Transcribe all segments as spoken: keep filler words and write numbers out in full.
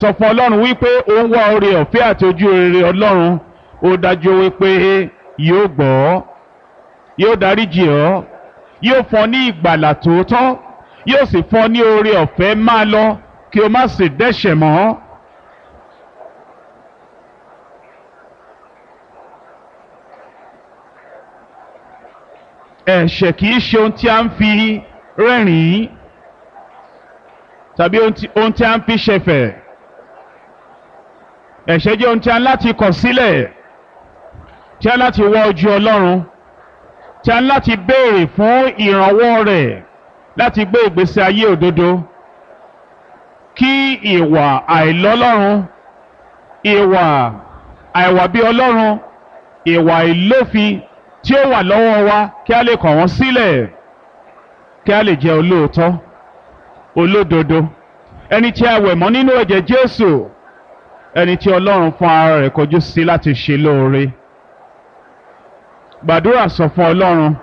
Sọ fún Ọlọ́run wípé ó ń wá oore ọ̀fẹ́ àti ojú rere Ọlọ́run. Ó dájú wípé yóò gbọ́, yóò dáríjì ọ́, yóò fún ọ ní ìgbàlà tòótọ́, yóò sì fún ọ ní oore ọ̀fẹ́ máa lọ kí o má sì dẹ́ṣẹ̀ mọ́. Ẹ̀ṣẹ̀ kì í ṣe ohun tí a ń fi rẹ́rìn-ín tàbí ohun tí a ń fi ṣẹ̀fẹ̀. Ẹ̀ṣẹ̀ jẹ́ ohun tí a ń láti kọ̀ sílẹ̀, tí a ń láti wá ojú Ọlọ́run, tí a ń láti béèrè fún ìrànwọ́ rẹ̀ láti gbé ìgbésí ayé òdodo. Kí ìwà àìlọ́lọ́run, ìwà àìwà bí Ọlọ́run, ìwà ìlófin tí ó wà lọ́wọ́ wa kí a lè kọ̀ wọ́n sílẹ̀, kí a lè jẹ́ olóòótọ́, olódodo, ẹni tí a wẹ̀ mọ́ nínú ẹ̀jẹ̀ Jésù, ẹni tí Ọlọ́run fún ara rẹ̀ kọjú sí láti ṣe lóore. Gbàdúrà sọ fún Ọlọ́run.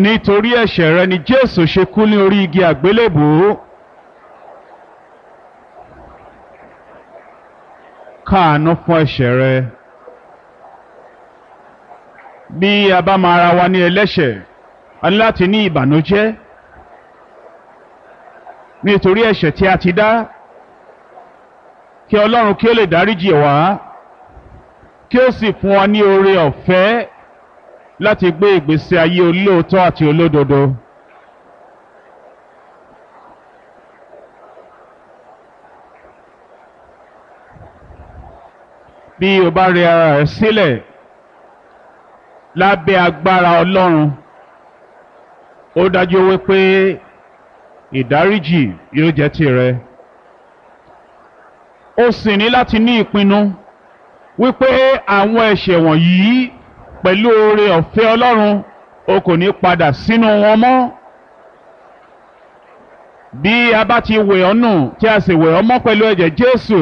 Nítorí ẹ̀ṣẹ̀ rẹ ni Jésù ṣe kú ní orí igi àgbélébùú. Káàánú fún ẹ̀ṣẹ̀ rẹ. Bí a bá máa ra wa ní ẹlẹ́ṣẹ̀, a ní láti ní ìbànújẹ́ nítorí ẹ̀ṣẹ̀ tí a ti dá, kí Ọlọ́run kí ó lè dáríjì wá, kí ó sì fún wa ní oore ọ̀fẹ́ láti gbé ìgbésí ayé olóòótọ́ àti olódodo. Bí o bá rẹ ara rẹ sílẹ̀ lábẹ́ agbára Ọlọ́run, ó dájú wípé ìdáríjì yóò jẹ́ tìrẹ. Ó sì ní láti ní ìpinnu wípé àwọn ẹ̀ṣẹ̀ wọ̀nyí pẹ̀lú oore ọ̀fẹ́ Ọlọ́run o kò ní padà sínú wọn mọ́. Bí a bá ti wẹ̀ ọ́ nù tí a sì wẹ̀ ọ́ mọ́ pẹ̀lú ẹ̀jẹ̀ Jésù,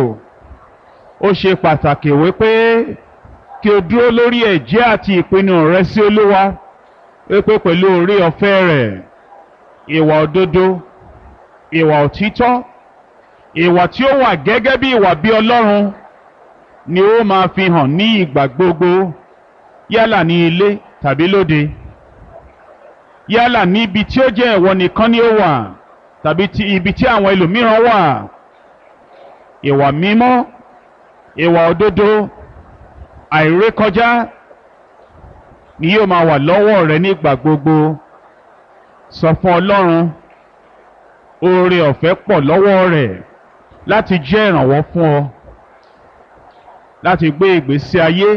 ó ṣe pàtàkì wípé kí o dúró lórí ẹ̀jẹ́ àti ìpinnu rẹ sí Olúwa, wípé pẹ̀lú oore ọ̀fẹ́ rẹ̀, ìwà òdodo, ìwà òtítọ́, ìwà tí ó wà gẹ́gẹ́ bí ìwà bí Ọlọ́run ni ó máa fi hàn ní ìgbà gbogbo, yálà ní ilé tàbí lóde, yálà ní ibi tí ó jẹ́ ìwọ nìkan ni ó wà tàbí ti ibi tí àwọn ẹlòmíràn wà. Ìwà mímọ́, ìwà òdodo, àìrékọjá ni yóò máa wà lọ́wọ́ rẹ nígbà gbogbo. Sọ fún Ọlọ́run, oore ọ̀fẹ́ pọ̀ lọ́wọ́ rẹ̀ láti jẹ́ ìrànwọ́ fún ọ láti gbé ìgbésí ayé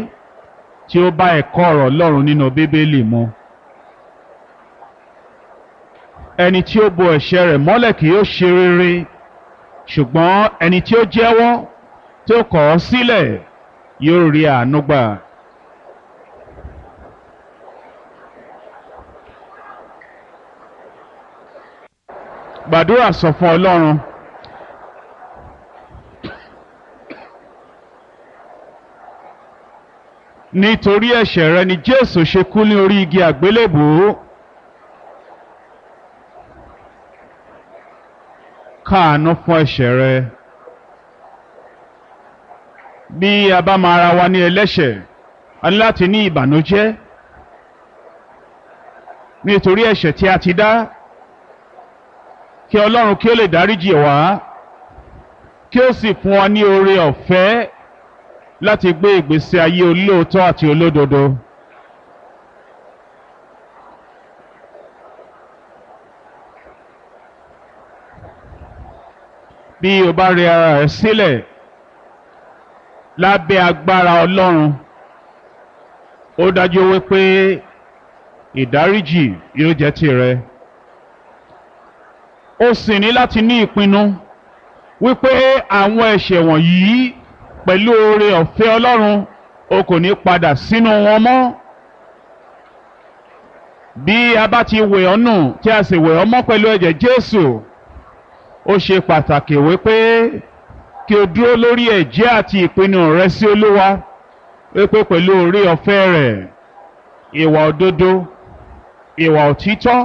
tí ó bá ẹ̀kọ́ ọ̀rọ̀ Ọlọ́run nínú Bíbélì mu. Ẹni tí ó bo ẹ̀ṣẹ̀ rẹ̀ mọ́lẹ̀ kì yóò ṣe rere, ṣùgbọ́n ẹni tí ó jẹ́wọ́ tí ó kọ̀ ọ́ sílẹ̀ yóò rí àánú gbà. Gbàdúrà sọ fún Ọlọ́run. Nítorí ẹ̀ṣẹ̀ rẹ ni Jésù ṣe kú ní orí igi àgbélébùú. Káàánú fún ẹ̀ṣẹ̀ rẹ. Bí a bá máa ra wa ní ẹlẹ́ṣẹ̀, a ní láti ní ìbànújẹ́ nítorí ẹ̀ṣẹ̀ tí a ti dá, kí Ọlọ́run kí ó lè dáríjì wá, kí ó sì fún wa ní oore ọ̀fẹ́ láti gbé ìgbésí ayé olóòótọ́ àti olódodo. Bí o bá rẹ ara rẹ sílẹ̀ lábẹ́ agbára Ọlọ́run, ó dájú wípé ìdáríjì yóò jẹ́ tìrẹ. Ó sì ní láti ní ìpinnu wípé àwọn ẹ̀ṣẹ̀ wọ̀nyí pẹ̀lú oore ọ̀fẹ́ Ọlọ́run o kò ní padà sínú wọn mọ́. Bí a bá ti wẹ̀ ọ́ nù tí a sì wẹ̀ ọ́ mọ́ pẹ̀lú ẹ̀jẹ̀ Jésù, ó ṣe pàtàkì wípé kí o dúró lórí ẹ̀jẹ́ àti ìpinnu rẹ sí Olúwa, wípé pẹ̀lú oore ọ̀fẹ́ rẹ̀, ìwà òdodo, ìwà òtítọ́,